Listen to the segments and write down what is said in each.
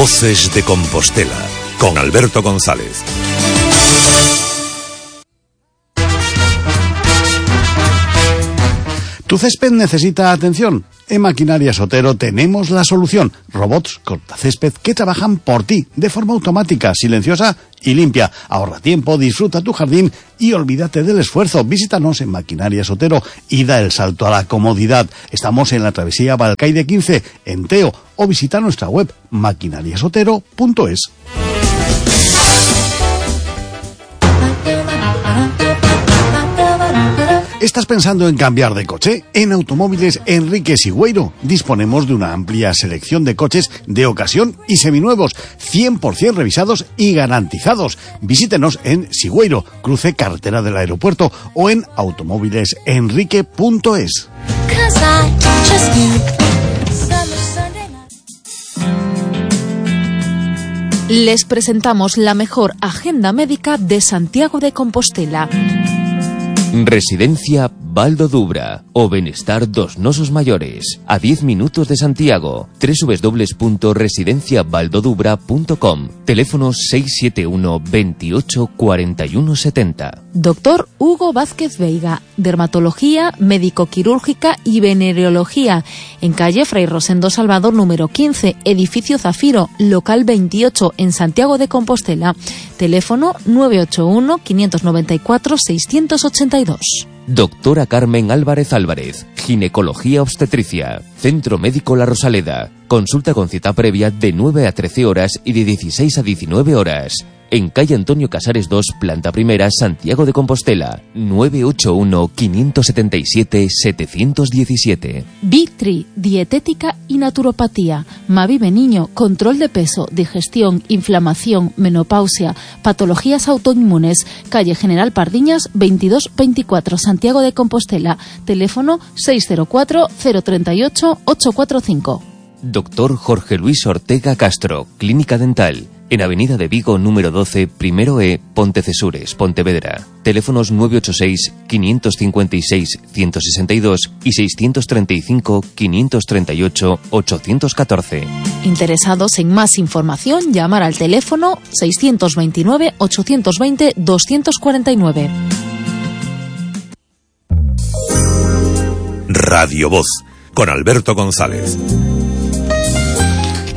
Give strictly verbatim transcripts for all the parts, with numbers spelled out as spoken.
Voces de Compostela, con Alberto González. ¿Tu césped necesita atención? En Maquinarias Otero tenemos la solución. Robots cortacésped que trabajan por ti, de forma automática, silenciosa y limpia. Ahorra tiempo, disfruta tu jardín y olvídate del esfuerzo. Visítanos en Maquinarias Otero y da el salto a la comodidad. Estamos en la travesía Balcaide quince, en Teo, o visita nuestra web maquinariasotero punto es. ¿Estás pensando en cambiar de coche? En Automóviles Enrique Sigüeiro disponemos de una amplia selección de coches de ocasión y seminuevos, cien por ciento revisados y garantizados. Visítenos en Sigüeiro, cruce carretera del aeropuerto, o en automóviles enrique punto es. Les presentamos la mejor agenda médica de Santiago de Compostela. Residencia Baldo Dubra o Benestar dos Nosos Mayores, a diez minutos de Santiago. doble u doble u doble u punto residencia baldo dubra punto com. Teléfono seis siete uno, veintiocho, cuarenta y uno setenta. Doctor Hugo Vázquez Veiga, dermatología, médico-quirúrgica y venereología, en calle Fray Rosendo Salvador número quince, edificio Zafiro, local veintiocho, en Santiago de Compostela. Teléfono nueve ocho uno, quinientos noventa y cuatro, seiscientos ochenta y dos. Doctora Carmen Álvarez Álvarez, ginecología obstetricia, Centro Médico La Rosaleda. Consulta con cita previa de nueve a trece horas y de dieciséis a diecinueve horas. En calle Antonio Casares dos, planta primera, Santiago de Compostela. nueve ocho uno, quinientos setenta y siete, setecientos diecisiete. Vitri, dietética y naturopatía. Mavive Niño, control de peso, digestión, inflamación, menopausia, patologías autoinmunes. Calle General Pardiñas, veintidós veinticuatro, Santiago de Compostela. Teléfono seis cero cuatro, cero tres ocho, ocho cuatro cinco. Doctor Jorge Luis Ortega Castro, Clínica Dental. En Avenida de Vigo, número doce, primero E, Pontecesures, Pontevedra. Teléfonos nueve ocho seis, quinientos cincuenta y seis, ciento sesenta y dos y seiscientos treinta y cinco, quinientos treinta y ocho, ochocientos catorce. Interesados en más información, llamar al teléfono seiscientos veintinueve, ochocientos veinte, doscientos cuarenta y nueve. Radio Voz, con Alberto González.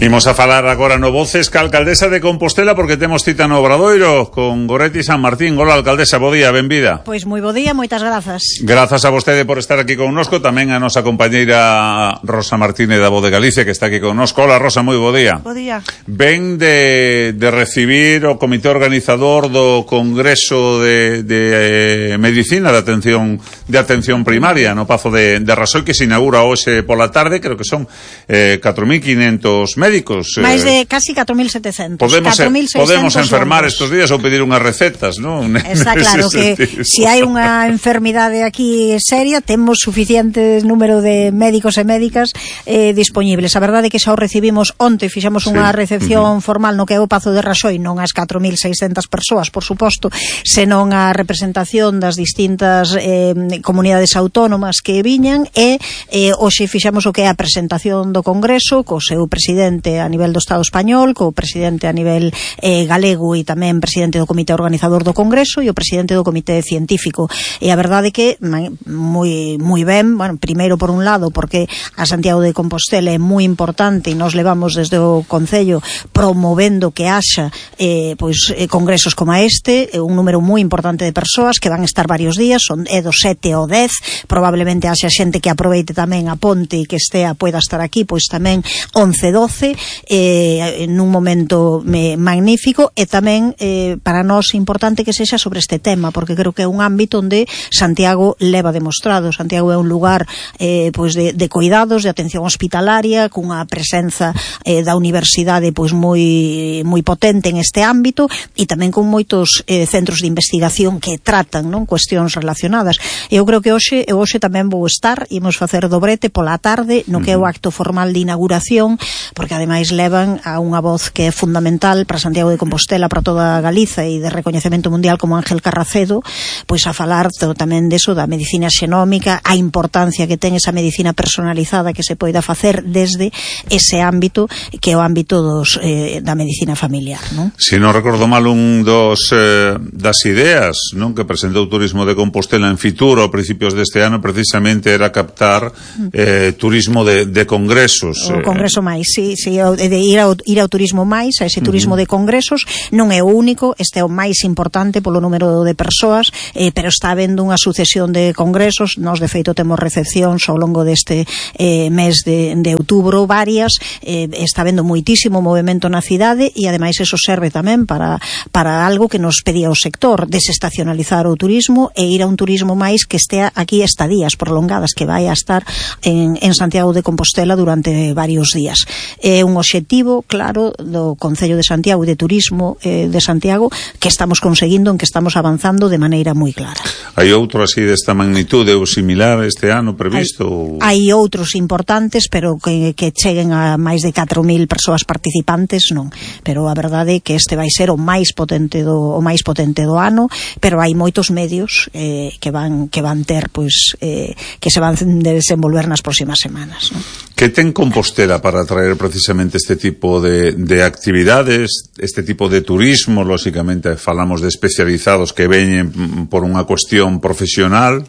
Imos a falar agora no Voces ca alcaldesa de Compostela, porque temos cita no Obradoiro con Goretti San Martín. Hola, alcaldesa, bo día, benvida. Pois moi bo día, moitas grazas. Grazas a vostede por estar aquí connosco, tamén a nosa compañeira Rosa Martínez da Voz de Galicia, que está aquí connosco. Hola, Rosa, moi bo día. Bo día. Ven de, de recibir o comité organizador do Congreso de, de eh, Medicina de Atención de Atención Primaria no Pazo de, de Rasoi, que se inaugura hoxe pola tarde. Creo que son eh, catro mil quinhentos médicos. Máis de casi catro mil setecentos. Podemos, podemos enfermar sordos estos días ou pedir unhas recetas, non? Está claro que se si hai unha enfermidade aquí seria, temos suficiente número de médicos e médicas eh, disponibles. A verdade é que xa o recibimos onte, fixemos unha sí. recepción uh-huh. formal no que é o Pazo de Rasoi, non as catro mil seiscentas persoas, por suposto, senón a representación das distintas eh, comunidades autónomas que viñan, e eh, hoxe fixemos o que é a presentación do Congreso co seu presidente a nivel do Estado español, co presidente a nivel eh, galego e tamén presidente do comité organizador do Congreso e o presidente do comité científico. E a verdade é que moi moi ben, bueno, primeiro por un lado porque a Santiago de Compostela é moi importante e nos levamos desde o Concello promovendo que haxa eh, pois eh, congresos como este, eh, un número moi importante de persoas que van estar varios días, son é do sete ao dez, probablemente haxa xente que aproveite tamén a ponte e que estea poida estar aquí, pois tamén once, doce, eh, nun momento me, magnífico, e tamén eh, para nós é importante que sexa sobre este tema, porque creo que é un ámbito onde Santiago leva demostrado. Santiago é un lugar eh, pois de, de cuidados, de atención hospitalaria, cunha presenza eh, da universidade pois moi moi potente en este ámbito, e tamén con moitos eh, centros de investigación que tratan, non, cuestións relacionadas. Eu creo que hoxe eu hoxe tamén vou estar, imos facer dobrete pola tarde no que é o acto formal de inauguración, porque ademais levan a unha voz que é fundamental para Santiago de Compostela, para toda Galiza e de recoñecemento mundial como Ángel Carracedo, pois a falar tamén deso da medicina xenómica, a importancia que ten esa medicina personalizada que se poida facer desde ese ámbito que é o ámbito dos, eh, da medicina familiar, non? Se non recordo mal, un dos eh, das ideas, non, que presentou Turismo de Compostela en Fitur a principios deste ano precisamente era captar eh, turismo de, de congresos. O congreso máis, sí, sí, de ir ao, ir ao turismo máis, a ese turismo uh-huh. de congresos, non é o único, este é o máis importante polo número de persoas, eh, pero está habendo unha sucesión de congresos, nós de feito temos recepcións ao longo deste eh, mes de, de outubro, varias, eh, está habendo moitísimo movimento na cidade e ademais eso serve tamén para, para algo que nos pedía o sector, desestacionalizar o turismo e ir a un turismo máis que estea aquí estadías prolongadas, que vai a estar en, en Santiago de Compostela durante varios días. É un obxectivo claro do Concello de Santiago e de Turismo eh, de Santiago que estamos conseguindo, en que estamos avanzando de maneira moi clara. Hai outro así desta magnitude ou similar este ano previsto? Hai, hai outros importantes, pero que, que cheguen a máis de catro mil persoas participantes, non. Pero a verdade é que este vai ser o máis potente do, o máis potente do ano, pero hai moitos medios eh, que van que van ter, pois, eh, que se van desenvolver nas próximas semanas, non? Que ten Compostela para atraer precisamente este tipo de, de actividades, este tipo de turismo? Lóxicamente falamos de especializados que veñen por unha cuestión profesional,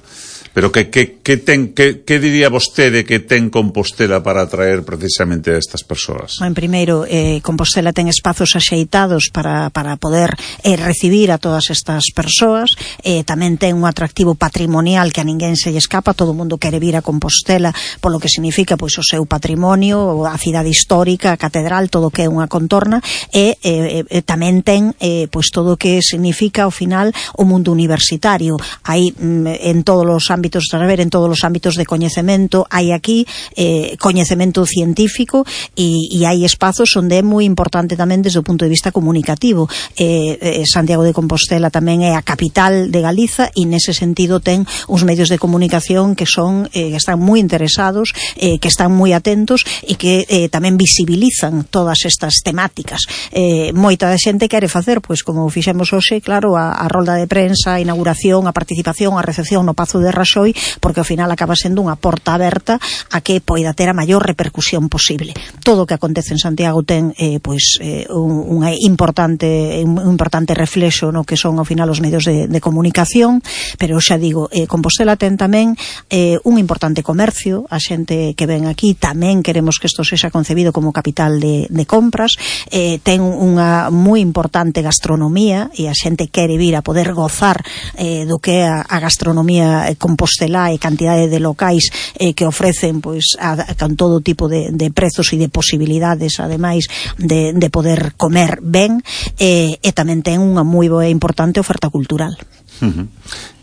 pero que, que, que, ten, que, que diría vostede que ten Compostela para atraer precisamente a estas persoas? En primeiro, eh, Compostela ten espazos axeitados para, para poder eh, recibir a todas estas persoas, eh, tamén ten un atractivo patrimonial que a ninguén se lle escapa, todo o mundo quere vir a Compostela polo que significa pois o seu patrimonio, a cidade histórica, a catedral, todo o que é unha contorna, e eh, eh, tamén ten eh, pois todo o que significa ao final o mundo universitario. Hai mm, en todos os ámbitos ámbitos, a ver, en todos os ámbitos de coñecemento, hai aquí eh, coñecemento científico e, e hai espazos onde é moi importante tamén desde o punto de vista comunicativo. Eh, eh, Santiago de Compostela tamén é a capital de Galiza e nese sentido ten uns medios de comunicación que son eh, que están moi interesados, eh, que están moi atentos e que eh, tamén visibilizan todas estas temáticas. Eh, moita da xente quere facer, pois como fixemos hoxe, claro, a, a rolda de prensa, a inauguración, a participación, a recepción no Pazo de Raxoi, porque ao final acaba sendo unha porta aberta a que poida ter a maior repercusión posible. Todo o que acontece en Santiago ten eh, pois eh, un, un importante un importante reflexo no que son ao final os medios de, de comunicación, pero xa digo, eh, Compostela ten tamén eh, un importante comercio, a xente que ven aquí tamén queremos que isto sexa concebido como capital de, de compras, eh, ten unha moi importante gastronomía e a xente quere vir a poder gozar eh, do que é a, a gastronomía eh, Compostela e cantidade de locais eh, que ofrecen pois a, a, con todo tipo de, de prezos e de posibilidades ademais de, de poder comer ben eh, e tamén ten unha moi boa e importante oferta cultural. Uh-huh.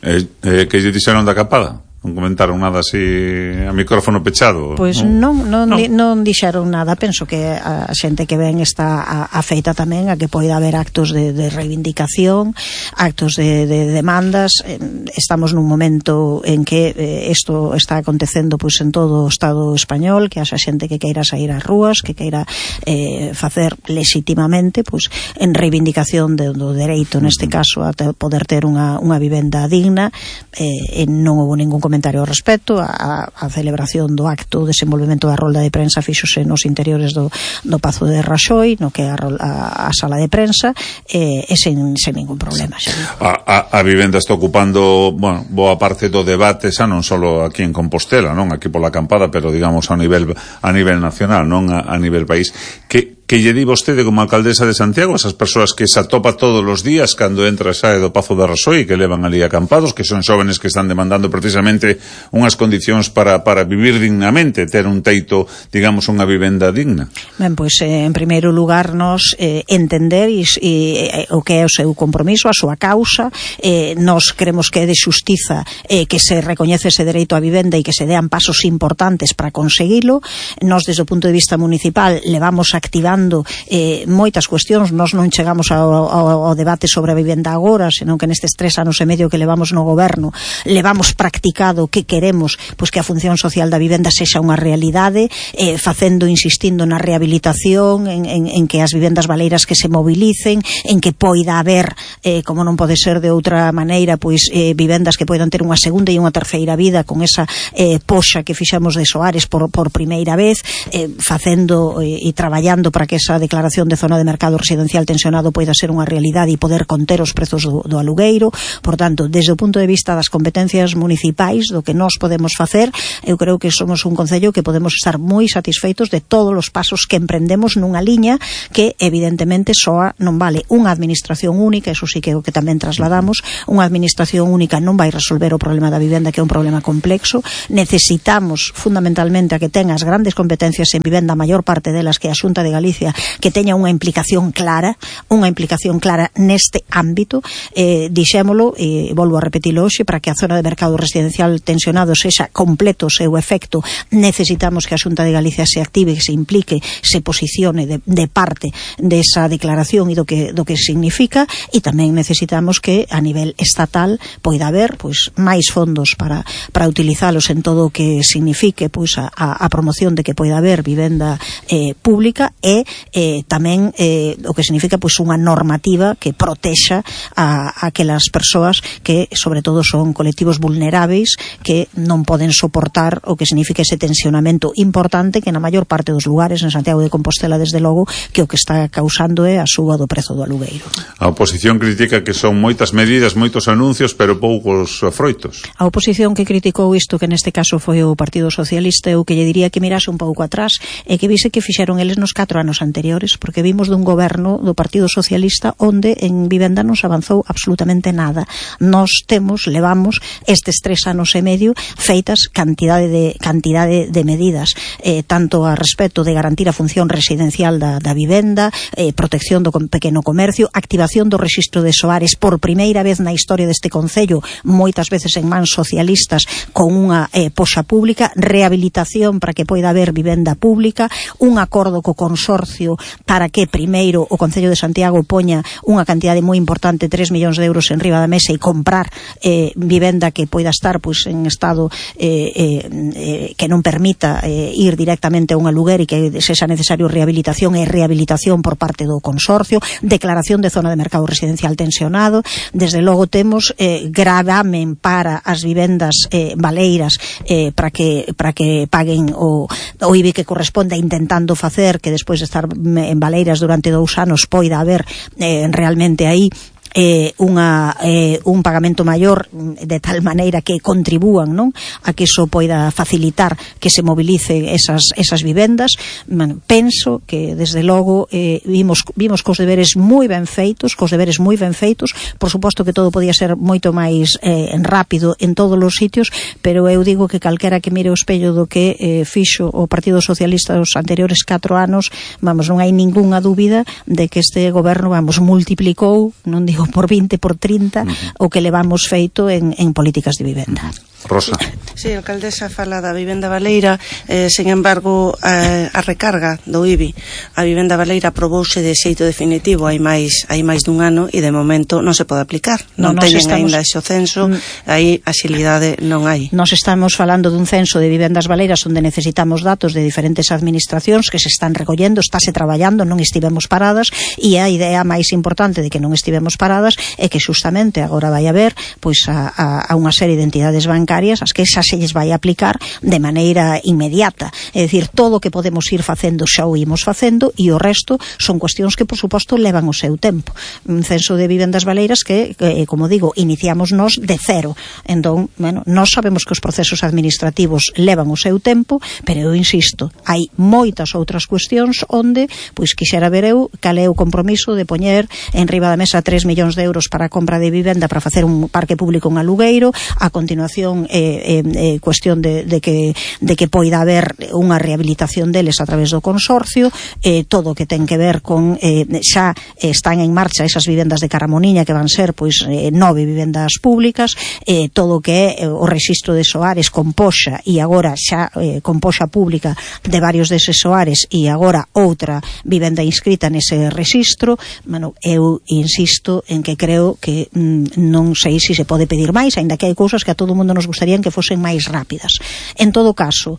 eh, eh, que lle dixeron da capada? Non comentaron nada así a micrófono pechado? Pois non, non, non, di, non dixeron nada. Penso que a xente que ven está afeita tamén a que poida haber actos de, de reivindicación, actos de, de demandas. Estamos nun momento en que isto eh, está acontecendo pois en todo o Estado español, que haxa xente que queira sair ás rúas, que queira eh, facer legitimamente pois en reivindicación de, do dereito, neste caso, a te, poder ter unha, unha vivenda digna. Eh, e non houve ningún comentario ao respecto. A, a celebración do acto, o desenvolvemento da rolda de prensa fíxose nos interiores do, do Pazo de Raxoi, no que é a, a, a sala de prensa, e, e sen, sen ningún problema. A, a, a vivenda está ocupando, bueno, boa parte do debate, xa non só aquí en Compostela, non aquí pola acampada, pero digamos a nivel a nivel nacional, non a, a nivel país. Que que lle di vostede como alcaldesa de Santiago a esas persoas que se atopa todos os días cando entra e sae do Pazo de Raxoi, que levan ali acampados, que son xóvenes que están demandando precisamente unhas condicións para, para vivir dignamente, ter un teito, digamos, unha vivenda digna? Ben, pois, eh, en primeiro lugar, nos eh, entender e, e, o que é o seu compromiso, a súa causa. Eh, nos creemos que é de xustiza eh, que se recoñece ese dereito á vivenda e que se dean pasos importantes para conseguilo. Nos, desde o punto de vista municipal, levamos activando tratando eh, moitas cuestións. Nós non chegamos ao, ao, ao debate sobre a vivenda agora, senón que nestes tres anos e medio que levamos no goberno levamos practicado que queremos pois que a función social da vivenda sexa unha realidade, eh, facendo, insistindo na rehabilitación, en, en, en que as vivendas baleiras que se mobilicen, en que poida haber, eh, como non pode ser de outra maneira, pois eh, vivendas que poidan ter unha segunda e unha terceira vida con esa eh, poxa que fixemos de Soares por, por primeira vez, eh, facendo eh, e traballando para que esa declaración de zona de mercado residencial tensionado poida ser unha realidade e poder conter os prezos do, do alugueiro. Por tanto, desde o punto de vista das competencias municipais, do que nós podemos facer, eu creo que somos un concello que podemos estar moi satisfeitos de todos os pasos que emprendemos nunha liña que evidentemente soa non vale. Unha administración única, eso sí que é o que tamén trasladamos, unha administración única non vai resolver o problema da vivenda, que é un problema complexo. Necesitamos fundamentalmente a que tenga as grandes competencias en vivenda, a maior parte delas que a Xunta de Galicia, que teña unha implicación clara, unha implicación clara neste ámbito. Eh, dixémolo, e volvo a repetilo hoxe, para que a zona de mercado residencial tensionado sexa completo o seu efecto, necesitamos que a Xunta de Galicia se active, que se implique, se posicione de, de parte desa declaración e do que, do que significa, e tamén necesitamos que a nivel estatal poida haber pois máis fondos para, para utilizalos en todo o que signifique pois a, a promoción de que poida haber vivenda eh, pública e eh, tamén eh, o que significa pois unha normativa que protexa a, a aquelas persoas que sobre todo son colectivos vulneráveis que non poden soportar o que significa ese tensionamento importante que na maior parte dos lugares en Santiago de Compostela desde logo que o que está causando é a suba do prezo do alugueiro. A oposición critica que son moitas medidas, moitos anuncios, pero poucos froitos. A oposición que criticou isto, que neste caso foi o Partido Socialista, eu que lle diría que mirase un pouco atrás e que vise que fixeron eles nos catro anos anteriores, porque vimos dun goberno do Partido Socialista onde en vivenda non se avanzou absolutamente nada. Nós temos, levamos estes tres anos e medio feitas cantidade de cantidade de medidas, eh, tanto a respecto de garantir a función residencial da, da vivenda, eh, protección do pequeno comercio, activación do rexistro de Soares por primeira vez na historia deste concello, moitas veces en mans socialistas, con unha eh, poxa pública, rehabilitación para que poida haber vivenda pública, un acordo co consorcio para que primeiro o Concello de Santiago poña unha cantidade moi importante, tres millóns de euros en riba da mesa e comprar eh, vivenda que poida estar pois en estado eh, eh, eh, que non permita eh, ir directamente a un aluguer e que sexa necesario rehabilitación e rehabilitación por parte do consorcio, declaración de zona de mercado residencial tensionado. Desde logo temos eh, gravamen para as vivendas eh, baleiras eh, para que para que paguen o, o I B I que corresponde, intentando facer que despois de estar en baleiras durante dous anos poida haber eh, realmente aí Eh, unha, eh, un pagamento maior de tal maneira que contribúan, non, a que iso poida facilitar que se movilice esas, esas vivendas. Bueno, penso que desde logo eh, vimos, vimos cos deberes moi ben feitos, cos deberes moi ben feitos. Por suposto que todo podía ser moito máis eh, rápido en todos os sitios, pero eu digo que calquera que mire o espello do que eh, fixo o Partido Socialista dos anteriores catro anos, vamos, non hai ningunha dúbida de que este goberno, vamos, multiplicou, non digo por vinte, por trinta, uh-huh. o que levamos feito en, en políticas de vivenda. Rosa. Sí, a alcaldesa fala da vivenda baleira, eh, sen embargo, a, a recarga do I B I, a vivenda baleira aprobouse de xeito definitivo hai máis hai máis dun ano e de momento non se pode aplicar. Non, non teñen estamos... ainda ese censo, mm. aí axilidade non hai. Nos estamos falando dun censo de vivendas baleiras onde necesitamos datos de diferentes administracións que se están recollendo, estáse traballando, non estivemos paradas, e a idea máis importante de que non estivemos paradas é que justamente agora vai haber pois a, a, a unha serie de entidades bancarias as que xa se lles vai aplicar de maneira inmediata. É dicir, todo o que podemos ir facendo xa o imos facendo e o resto son cuestións que, por suposto, levan o seu tempo. Un censo de vivendas baleiras que, que como digo, iniciamos nós de cero. Entón, bueno, nós sabemos que os procesos administrativos levan o seu tempo, pero eu insisto, hai moitas outras cuestións onde, pois, quixera ver eu cal é o compromiso de poñer en riba da mesa tres millóns de euros para a compra de vivenda para facer un parque público en alugueiro, a continuación son eh, eh, cuestión de, de que de que poida haber unha rehabilitación deles a través do consorcio, eh, todo o que ten que ver con eh, xa están en marcha esas vivendas de Caramoniña que van ser pois eh, nove vivendas públicas, eh, todo o que é eh, o rexistro de soares con poxa e agora xa eh, con poxa pública de varios deses soares e agora outra vivenda inscrita nese rexistro. Bueno, eu insisto en que creo que mm, non sei se se pode pedir máis, aínda que hai cousas que a todo mundo nos gustarían que fosen máis rápidas. En todo caso,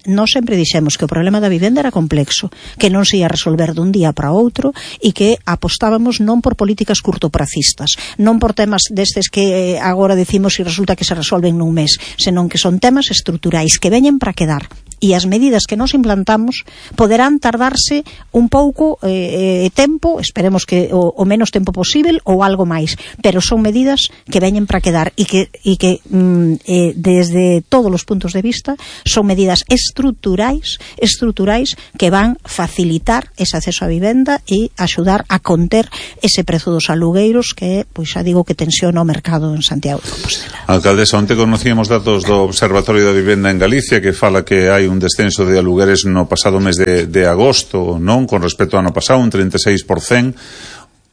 nós sempre dixemos que o problema da vivenda era complexo, que non se ia resolver dun día para outro e que apostábamos non por políticas curtopracistas, non por temas destes que agora decimos e resulta que se resolven nun mes, senón que son temas estruturais que veñen para quedar. E as medidas que nos implantamos poderán tardarse un pouco eh, tempo, esperemos que o, o menos tempo posible ou algo máis, pero son medidas que veñen para quedar e que, e que mm, eh, desde todos os puntos de vista son medidas estruturais estruturais que van facilitar ese acceso á vivenda e axudar a conter ese prezo dos alugueiros que, pois xa digo, que tensiona o mercado en Santiago de Compostela. Alcaldesa, onte conocíamos datos do Observatorio da Vivenda en Galicia que fala que hai un descenso de alugueres no pasado mes de, de agosto, non? Con respecto ao ano pasado, un treinta e seis por cento.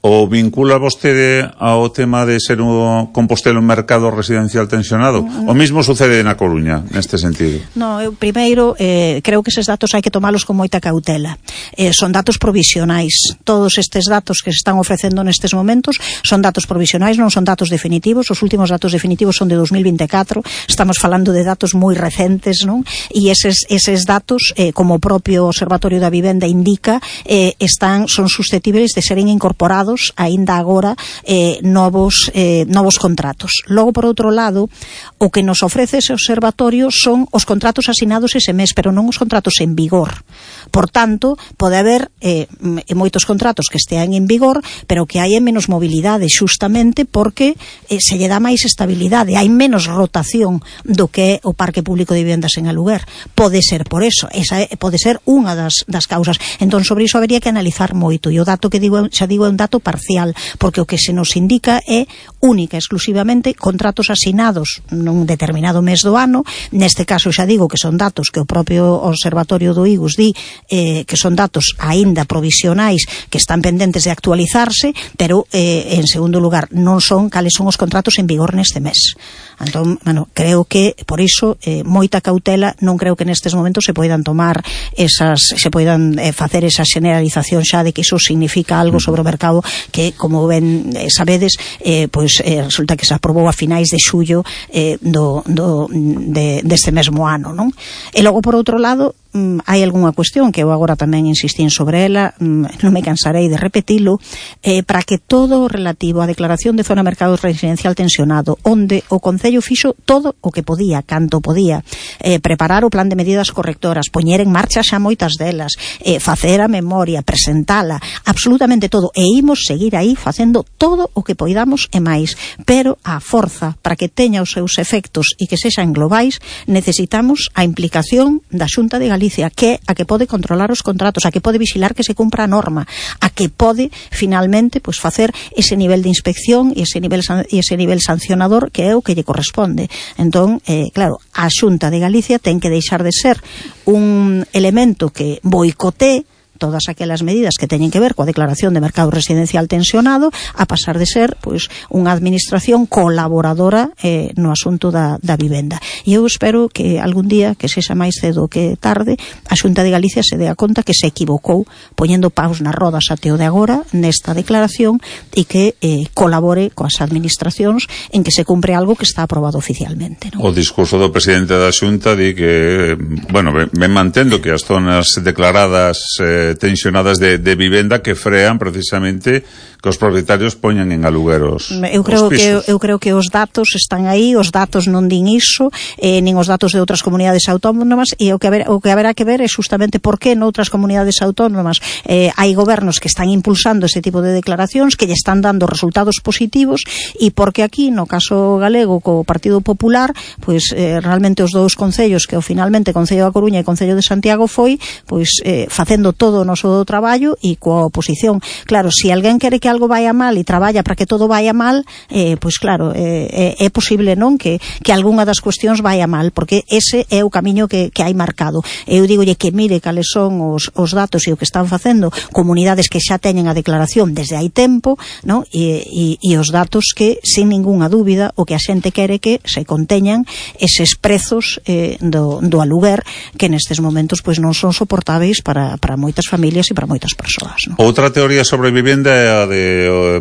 O vincula vostede ao tema de ser un Compostela un mercado residencial tensionado? O mismo sucede na Coruña, neste sentido? No, eu primeiro eh, creo que eses datos hai que tomalos con moita cautela. Eh, son datos provisionais. Todos estes datos que se están ofrecendo nestes momentos son datos provisionais, non son datos definitivos. Os últimos datos definitivos son de dos mil vinte e catro. Estamos falando de datos moi recentes, non? E eses, eses datos, eh, como o propio Observatorio da Vivenda indica, eh, están, son susceptibles de seren incorporados aínda agora eh, novos eh, novos contratos. Logo, por outro lado, o que nos ofrece ese observatorio son os contratos asinados ese mes, pero non os contratos en vigor. Por tanto, pode haber eh, moitos contratos que estean en vigor, pero que hai menos mobilidade, justamente porque eh, se lle dá máis estabilidade, hai menos rotación do que é o parque público de vivendas en aluguer. Pode ser por eso, esa é, pode ser unha das, das causas. Entón, sobre iso habería que analizar moito, e o dato que digo, xa digo, é un dato parcial, porque o que se nos indica é única, exclusivamente, contratos asinados nun determinado mes do ano. Neste caso xa digo que son datos que o propio Observatorio do I G U S di eh, que son datos aínda provisionais que están pendentes de actualizarse, pero eh, en segundo lugar non son cales son os contratos en vigor neste mes. Entón, bueno, creo que por iso eh, moita cautela, non creo que nestes momentos se poidan tomar esas, se poidan eh, facer esa generalización xa de que iso significa algo sobre o mercado que, como ben eh, sabedes, eh, pois eh, resulta que se aprobou a finais de xullo eh, do, do, de, deste mesmo ano, non? E logo, por outro lado, mm, hai algunha cuestión que eu agora tamén insistín sobre ela, mm, non me cansarei de repetilo, eh, para que todo o relativo á declaración de zona mercado residencial tensionado, onde o Concello fixo todo o que podía, canto podía, eh, preparar o plan de medidas correctoras, poñer en marcha xa moitas delas, eh, facer a memoria, presentala, absolutamente todo, e imos seguir aí facendo todo o que poidamos e máis, pero a forza para que teña os seus efectos e que sexan globais, necesitamos a implicación da Xunta de Galicia, que é a que pode controlar os contratos, a que pode vigilar que se cumpra a norma, a que pode finalmente pois facer ese nivel de inspección e ese nivel e ese nivel sancionador que é o que lle corresponde. Entón, eh, claro, a Xunta de Galicia ten que deixar de ser un elemento que boicotee todas aquelas medidas que teñen que ver coa declaración de mercado residencial tensionado a pasar de ser pois unha administración colaboradora eh, no asunto da, da vivenda. E eu espero que algún día, que sexa máis cedo que tarde, a Xunta de Galicia se dea conta que se equivocou poñendo paus nas rodas até o de agora nesta declaración e que eh, colabore coas administracións en que se cumpre algo que está aprobado oficialmente, non? O discurso do presidente da Xunta di que, bueno, ven mantendo que as zonas declaradas eh, tensionadas de, de vivenda que frean precisamente que os propietarios poñan en alugueros. Eu creo que eu creo que os datos están aí, os datos non din iso, eh, nin os datos de outras comunidades autónomas, e o que haber, o que haberá que ver é justamente por que noutras comunidades autónomas eh, hai gobernos que están impulsando ese tipo de declaracións que lle están dando resultados positivos, e porque aquí no caso galego co Partido Popular, pois eh, realmente os dous concellos que o finalmente Concello da Coruña e Concello de Santiago foi pois eh, facendo todo todo o noso traballo e coa oposición. Claro, se si alguén quere que algo vaya mal e traballa para que todo vaya mal, eh, pois claro, eh, é posible non que, que algunha das cuestións vaya mal, porque ese é o camiño que, que hai marcado. Eu digolle que mire cales son os, os datos e o que están facendo comunidades que xa teñen a declaración desde hai tempo, non? E, e, e os datos que, sin ningunha dúbida, o que a xente quere que se conteñan eses prezos eh, do, do aluguer que nestes momentos pois non son soportáveis para, para moitas familias e para moitas persoas, non? Outra teoría sobre vivenda é a de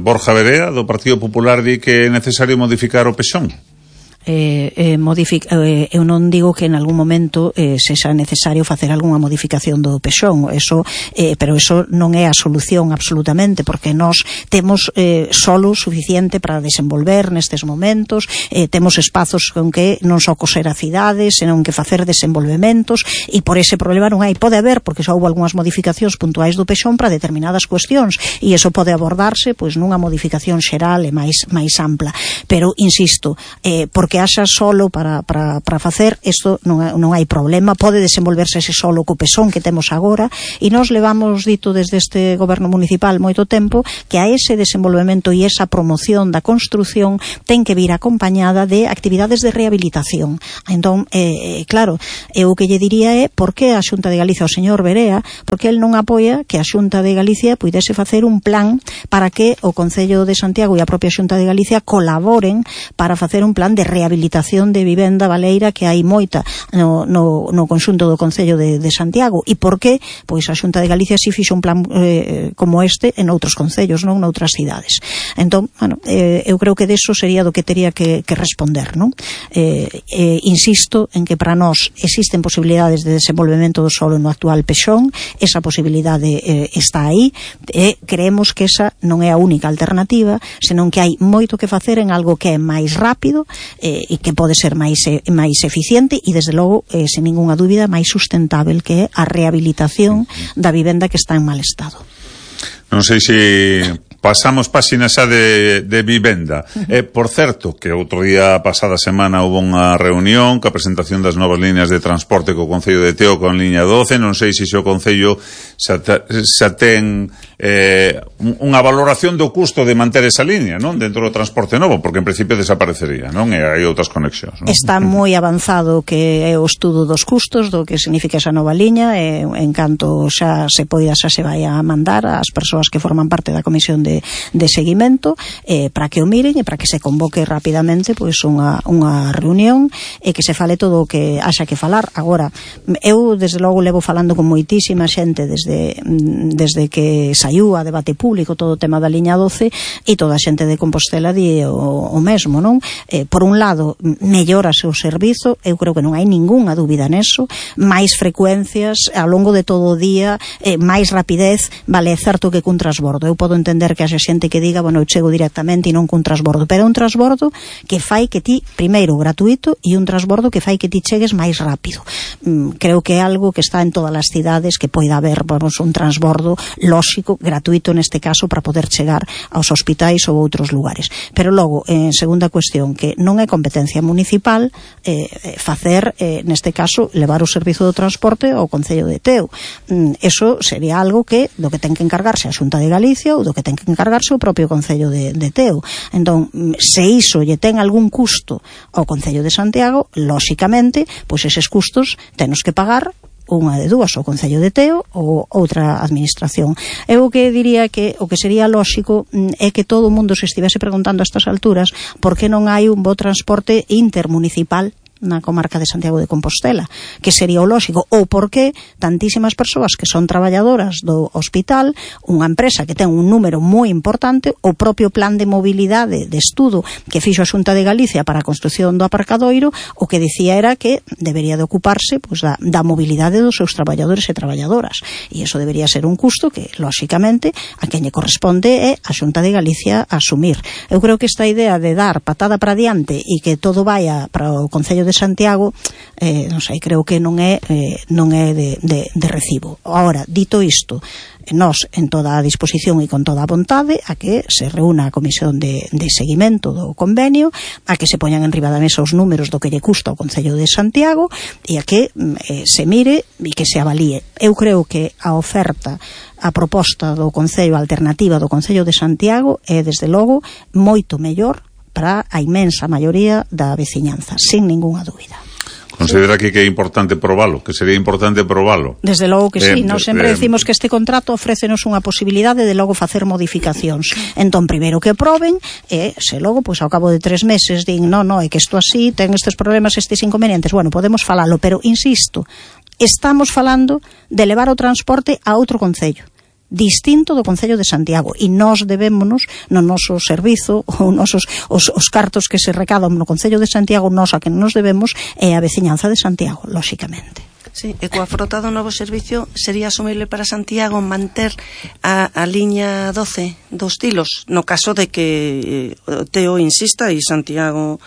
Borja Verea, do Partido Popular, di que é necesario modificar o Pexón. Eh, eh, modific, eh, eu non digo que en algún momento eh, sexa necesario facer algunha modificación do Pexón, eso, eh, pero eso non é a solución absolutamente, porque nós temos eh, solo suficiente para desenvolver nestes momentos, eh, temos espazos con que non só coser a cidades, senón que facer desenvolvementos, e por ese problema non hai, pode haber, porque xa houve algunhas modificacións puntuais do Pexón para determinadas cuestións, e eso pode abordarse pois nunha modificación xeral e máis, máis ampla, pero insisto, eh, por que haxa solo para, para, para facer, isto non, non hai problema, pode desenvolverse ese solo co Pexón que temos agora, e nós levamos dito desde este goberno municipal moito tempo que a ese desenvolvemento e esa promoción da construción ten que vir acompañada de actividades de rehabilitación. Entón, eh, claro, eu o que lle diría é por que a Xunta de Galicia, o señor Verea, porque el non apoia que a Xunta de Galicia puidese facer un plan para que o Concello de Santiago e a propia Xunta de Galicia colaboren para facer un plan de rehabilitación de vivenda baleira que hai moita no, no, no conxunto do Concello de, de Santiago. E por que? Pois a Xunta de Galicia si fixo un plan eh, como este en outros concellos, non noutras cidades. Entón, bueno, eh, eu creo que deso sería do que teria que, que responder, non? Eh, eh, insisto en que para nós existen posibilidades de desenvolvemento do solo no actual Pexón, esa posibilidade eh, está aí, e creemos que esa non é a única alternativa, senón que hai moito que facer en algo que é máis rápido, eh, e que pode ser máis eh, máis eficiente e desde logo, eh, sen ninguna dúbida, máis sustentável, que é a rehabilitación da vivenda que está en mal estado. Non sei se pasamos páxina xa de, de vivenda. Eh, por certo, que outro día, pasada semana, houve unha reunión ca presentación das novas líneas de transporte co Concello de Teo con liña doce. Non sei se o Concello xa, xa ten eh, unha valoración do custo de manter esa línea, non? Dentro do transporte novo, porque en principio desaparecería, non? E hai outras conexións, non? Está moi avanzado que é o estudo dos custos, do que significa esa nova liña, e en canto xa se poida, xa se vai a mandar ás persoas que forman parte da comisión de de, de seguimento, eh, para que o miren e para que se convoque rapidamente pois unha, unha reunión e que se fale todo o que haxa que falar. Agora, eu desde logo levo falando con moitísima xente desde, desde que saiu a debate público todo o tema da liña doce, e toda a xente de Compostela di o, o mesmo, non? Eh, por un lado, mellórase o servizo, eu creo que non hai ningunha dúbida neso, máis frecuencias ao longo de todo o día, eh, máis rapidez, vale, é certo que cun transbordo, eu podo entender que que haxa xente que diga, bueno, eu chego directamente e non cun transbordo, pero é un transbordo que fai que ti, primeiro, gratuito, e un transbordo que fai que ti chegues máis rápido. Mm, creo que é algo que está en todas as cidades, que poida haber, vamos, un transbordo lóxico, gratuito neste caso, para poder chegar aos hospitais ou outros lugares. Pero logo, en segunda cuestión, que non é competencia municipal eh, facer, eh, neste caso, levar o servizo do transporte ao Concello de Teo. Mm, eso sería algo que do que ten que encargarse a Xunta de Galicia ou do que ten que encargarse o propio Concello de, de Teo. Entón, se iso lle ten algún custo ao Concello de Santiago, lóxicamente, pois eses custos tenos que pagar unha de dúas, o Concello de Teo ou outra administración. Eu o que diría que o que sería lóxico é que todo o mundo se estivese preguntando a estas alturas por que non hai un bo transporte intermunicipal na comarca de Santiago de Compostela, que sería o lóxico, ou porque tantísimas persoas que son traballadoras do hospital, unha empresa que ten un número moi importante, o propio plan de mobilidade de estudo que fixo a Xunta de Galicia para a construción do aparcadoiro, o que dicía era que debería de ocuparse pois, da, da mobilidade dos seus traballadores e traballadoras, e iso debería ser un custo que, lóxicamente, a quen lle corresponde é a Xunta de Galicia asumir. Eu creo que esta idea de dar patada para diante e que todo vaya para o Concello de de Santiago, eh, non sei, creo que non é eh, non é de, de, de recibo. Ahora, dito isto, nós en toda a disposición e con toda a vontade a que se reúna a comisión de, de seguimento do convenio, a que se poñan en riba da mesa os números do que lle custa ao Concello de Santiago e a que eh, se mire e que se avalíe. Eu creo que a oferta, a proposta do Concello, a alternativa do Concello de Santiago é, desde logo, moito mellor para a inmensa maioría da veciñanza, sin ningunha dúbida. Considera que, que é importante probalo, que sería importante probalo. Desde logo que sí, eh, nós sempre eh, decimos que este contrato ofrécenos unha posibilidade de logo facer modificacións. Entón, primeiro que proben, e se logo, pois ao cabo de tres meses din, no, no, é que isto así, ten estes problemas, estes inconvenientes, bueno, podemos falalo, pero insisto, estamos falando de levar o transporte a outro concello distinto do Concello de Santiago, e nós debémonos no noso servizo, ou nosos, os, os cartos que se recadan no Concello de Santiago, nós a que nos debemos é a veciñanza de Santiago, lóxicamente. Sí, e coa frota do novo servicio sería asumible para Santiago manter a, a liña doce dos Tilos, no caso de que eh, Teo insista e Santiago...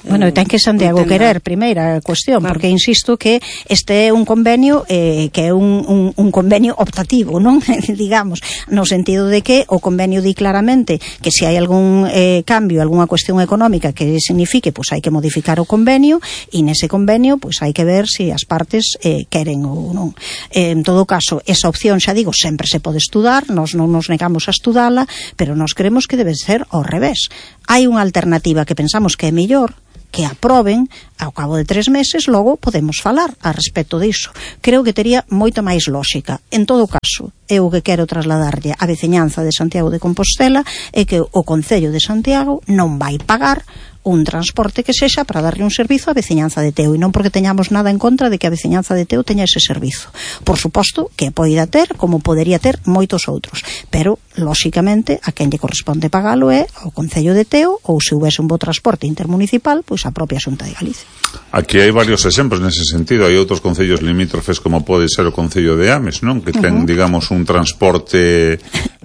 Bueno, ten que Santiago entenda. Querer, primeira cuestión, claro. Porque insisto que este é un convenio eh, que é un, un, un convenio optativo, non? Digamos, no sentido de que o convenio di claramente que se hai algún eh, cambio, algunha cuestión económica que signifique, pois pues, hai que modificar o convenio, e nese convenio, pois pues, hai que ver se si as partes eh, queren ou non. Eh, en todo caso, esa opción, xa digo, sempre se pode estudar, nós non nos negamos a estudala, pero nós creemos que debe ser ao revés. Hai unha alternativa que pensamos que é mellor, que aproben, ao cabo de tres meses, logo podemos falar a respecto disso. Creo que tería moito máis lógica. En todo caso, eu que quero trasladarlle a veciñanza de Santiago de Compostela é que o Concello de Santiago non vai pagar un transporte que sexa para darle un servizo á veciñanza de Teo, e non porque teñamos nada en contra de que a veciñanza de Teo teña ese servizo. Por suposto que poida ter, como podería ter moitos outros, pero lóxicamente a quen lle corresponde pagalo é ao Concello de Teo, ou se houvese un bo transporte intermunicipal, pois a propia Xunta de Galicia. Aquí hai varios exemplos nese sentido. Hai outros concellos limítrofes como pode ser o Concello de Ames, non? Que ten, uh -huh. digamos, un transporte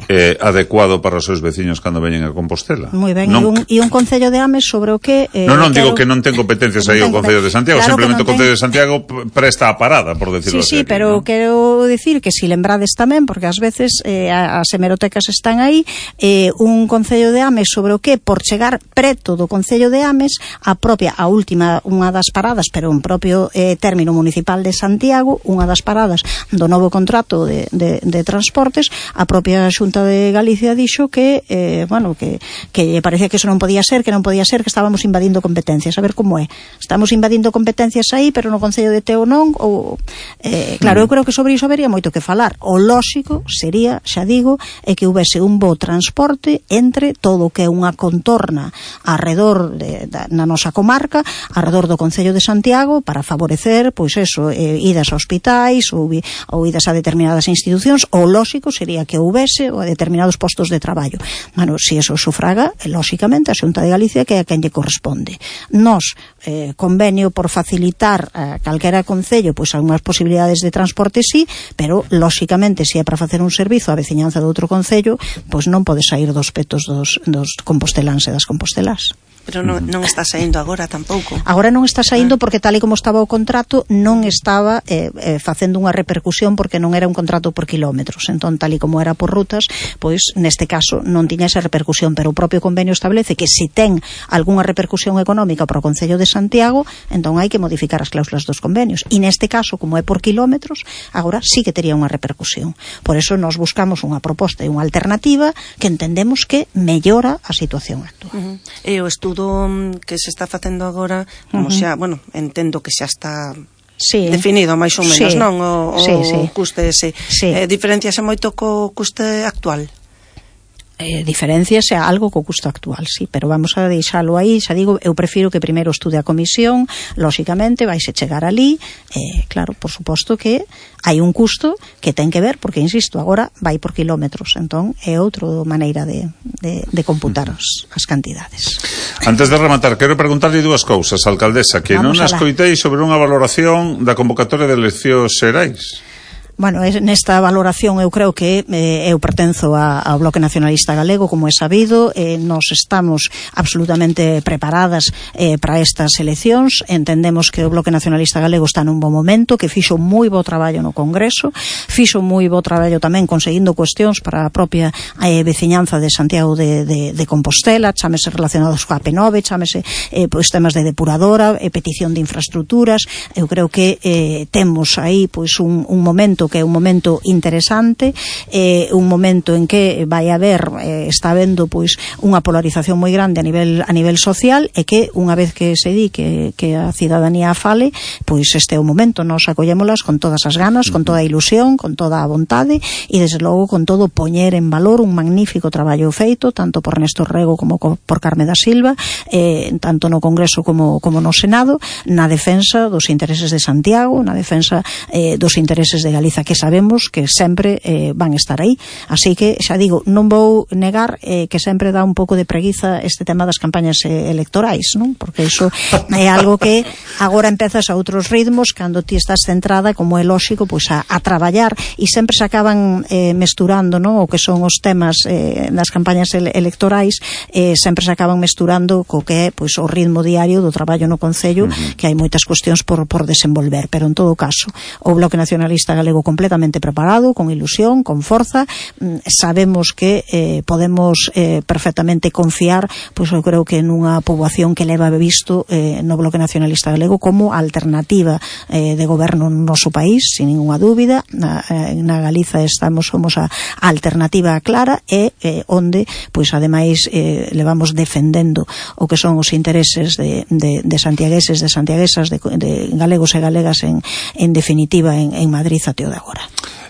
eh, adecuado para os seus veciños cando veñen a Compostela. Moi ben, non... e, un, e un Concello de Ames sobre o que... Eh, non, non, digo que non ten competencias aí o Concello de Santiago, claro, simplemente o Concello de Santiago presta a parada, por decirlo sí, así. Sí, sí, pero ¿no? Quero dicir que si lembrades tamén, porque ás veces eh, as hemerotecas están aí, eh, un Concello de Ames sobre o que, por chegar preto do Concello de Ames, a propia, a última, unha das paradas, pero un propio eh, término municipal de Santiago, unha das paradas do novo contrato de, de, de transportes, a propia Xunta de Galicia dixo que, eh, bueno, que, que parecía que eso non podía ser, que non podía ser, que estábamos invadindo competencias. A ver como é. Estamos invadindo competencias aí, pero no Concello de Teo non, ou, eh, claro, eu creo que sobre iso habería moito que falar. O lóxico sería, xa digo, é que houvese un bo transporte entre todo o que é unha contorna arredor de, da, na nosa comarca, arredor do Concello de Santiago, para favorecer, pois eso, eh, idas a hospitais ou, ou idas a determinadas institucións. O lóxico sería que houvese ou a determinados postos de traballo. Bueno, se eso sufraga, lóxicamente, a Xunta de Galicia, que é a quen lle corresponde. Nos, eh, convenio por facilitar a calquera concello, pois algunhas posibilidades de transporte sí, pero, lóxicamente, se é para facer un servizo á veciñanza do outro concello, pois non pode sair dos petos dos, dos composteláns e das compostelás. Pero non, non está saindo agora tampouco. Agora non está saindo porque tal e como estaba o contrato non estaba eh, eh, facendo unha repercusión, porque non era un contrato por kilómetros. Entón, tal e como era por rutas, pois neste caso non tiña esa repercusión, pero o propio convenio establece que se ten algunha repercusión económica para o Concello de Santiago, entón hai que modificar as cláusulas dos convenios. E neste caso, como é por kilómetros, agora sí que tería unha repercusión. Por eso nos buscamos unha proposta e unha alternativa que entendemos que mellora a situación actual. Uh-huh. E o estudo que se está facendo agora, como uh-huh. xa, bueno, entendo que xa está sí. definido máis ou menos, sí. non? O, o sí, sí. custe ese. Sí. Eh, diferenciase moito co custe actual? Eh, diferencias é algo co custo actual, sí, pero vamos a deixalo aí, xa digo, eu prefiro que primeiro estude a comisión, lóxicamente vaise chegar ali, eh, claro, por suposto que hai un custo que ten que ver, porque, insisto, agora vai por kilómetros, entón é outra maneira de, de, de computar as, as cantidades. Antes de rematar, quero preguntarle dúas cousas, alcaldesa, que vamos non escoitei sobre unha valoración da convocatoria de eleccións xerais. Bueno, nesta valoración eu creo que eh, eu pertenzo a, ao Bloque Nacionalista Galego, como é sabido, eh, nos estamos absolutamente preparadas eh, para estas eleccións, entendemos que o Bloque Nacionalista Galego está nun bo momento, que fixo moi bo traballo no Congreso, fixo moi bo traballo tamén conseguindo cuestións para a propia eh, veciñanza de Santiago de, de, de Compostela, chámese relacionados coa P nove, chámese eh, pois temas de depuradora, eh, petición de infraestructuras. Eu creo que eh, temos aí pois un, un momento que é un momento interesante, eh, un momento en que vai haber, eh, está habendo pois unha polarización moi grande a nivel a nivel social, e que unha vez que se di que, que a cidadanía fale, pois este é o momento, nos acollémolas con todas as ganas, con toda a ilusión, con toda a vontade, e desde logo con todo poñer en valor un magnífico traballo feito, tanto por Néstor Rego como por Carme da Silva, eh, tanto no Congreso como, como no Senado, na defensa dos intereses de Santiago, na defensa eh, dos intereses de Galiza, que sabemos que sempre eh, van estar aí. Así que, xa digo, non vou negar eh, que sempre dá un pouco de preguiza este tema das campañas eh, electorais, non? Porque iso é algo que agora empezas a outros ritmos, cando ti estás centrada, como é lóxico, pois a, a traballar, e sempre se acaban eh, mesturando, non? O que son os temas eh, das campañas ele electorais, eh, sempre se acaban mesturando co que é pois o ritmo diario do traballo no Concello, uh-huh. que hai moitas cuestións por, por desenvolver, pero en todo caso, o Bloque Nacionalista Galego completamente preparado, con ilusión, con forza, sabemos que eh, podemos eh, perfectamente confiar, pois eu creo que nunha poboación que leva visto eh, no Bloque Nacionalista Galego como alternativa eh, de goberno no noso país, sin ninguna dúbida. Na, eh, na Galiza estamos, somos a, a alternativa clara, e eh, onde, pois ademais eh, levamos defendendo o que son os intereses de, de, de santiagueses, de santiaguesas, de, de galegos e galegas en, en definitiva en, en Madrid até o de agora.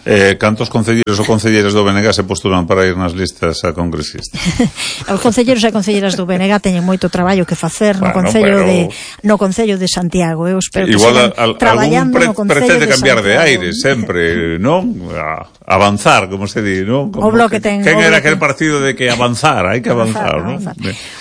Eh, cantos concelleiros ou concelleiras do B N G se postulan para ir nas listas a congresistas? Os concelleiros e concelleiras do B N G teñen moito traballo que facer no bueno, Concello pero... de no Concello de Santiago. Eu espero igual que sigan traballando pre, no Concello pretende de cambiar Santiago. de aire sempre, non? A avanzar, como se di, non? Como o Bloque ten... Quen era bloque... aquel partido de que avanzar, hai que avanzar, non?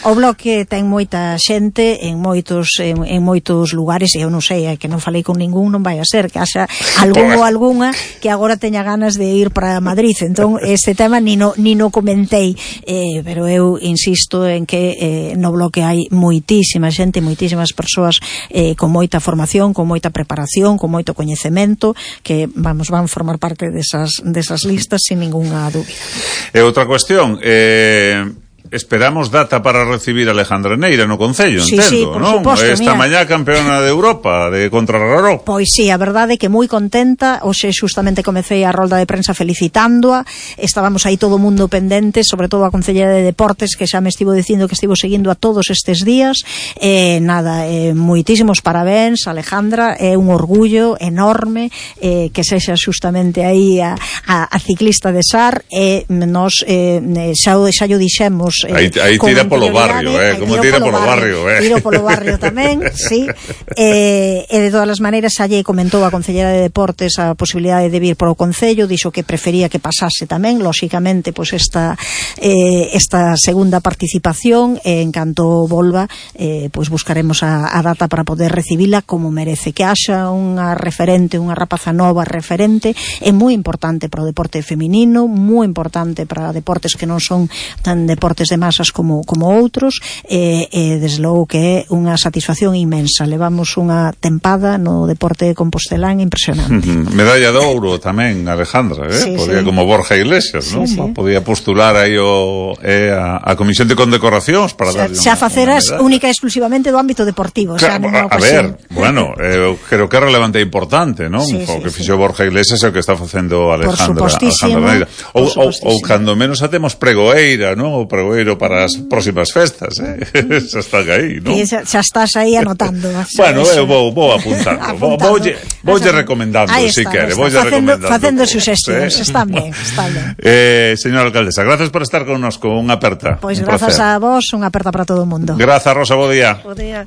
O Bloque ten moita xente en moitos en, en moitos lugares, e eu non sei, é que non falei con ningún, non vai a ser que haxa algún ou algunha que agora teña ganas de ir para Madrid, entón este tema ni no, ni no comentei, eh, pero eu insisto en que eh, no Bloque hai moitísima xente, moitísimas persoas eh, con moita formación, con moita preparación, con moito coñecemento, que vamos, van formar parte desas, desas listas sin ninguna dúbida. E outra cuestión, eh... esperamos data para recibir a Alejandra Neira no Concello, sí, entendo, sí, por non? suposto, Esta mira. mañá campeona de Europa de contrarreloj. Pois sí, a verdade é que moi contenta. Hoxe xustamente comecei a rolda de prensa felicitándoa. Estábamos aí todo o mundo pendente, sobre todo a Concelleira de Deportes, que xa me estivo dicindo que estivo seguindo a todos estes días. Eh, nada, eh, moitísimos parabéns, Alejandra, é un orgullo enorme eh, que sexa xustamente aí a, a, a ciclista de Sar, e nos eh, xa, xa yo dixemos Eh, aí, aí tira polo barrio, eh, como tira polo barrio, barrio eh. Tiro polo barrio tamén, sí. Eh, e de todas as maneiras xa lle comentou a Concelleira de Deportes a posibilidade de vir para o Concello, dixo que prefería que pasase tamén, lóxicamente, pois esta eh, esta segunda participación, e en canto volva, eh, pois buscaremos a, a data para poder recibila como merece, que haxa unha referente, unha rapaza nova referente, é moi importante para o deporte feminino, moi importante para deportes que non son tan deportes de masas como, como outros, e, e desde logo que é unha satisfacción inmensa. Levamos unha tempada no deporte compostelán impresionante. Medalla de ouro tamén, Alejandra, eh? Sí, podía, sí. Como Borja Iglesias, sí, non? Sí. Podía postular aí o, eh, a, a Comisión de Condecoracións para darlle xa faceras única e exclusivamente do ámbito deportivo. Xa, a, a ver, bueno, eu eh, creo que é relevante e importante, non? Sí, o que sí, fixo sí. Borja Iglesias é o que está facendo Alejandra, Alejandra Neira. Ou, ou, ou cando menos a temos pregoeira, non? O pregoeiro para as próximas festas, eh? Xa están aí, non? Xa, xa estás aí anotando. Bueno, eu vou, vou apuntando. Voulle vou recomendando, se si quere. Voulle recomendando. Facendo suxestións, están ben, están ben. Eh, señora alcaldesa, gracias por estar connosco, unha aperta. Pois grazas a vos, unha aperta para todo o mundo. Grazas, Rosa, bo día. Bo día.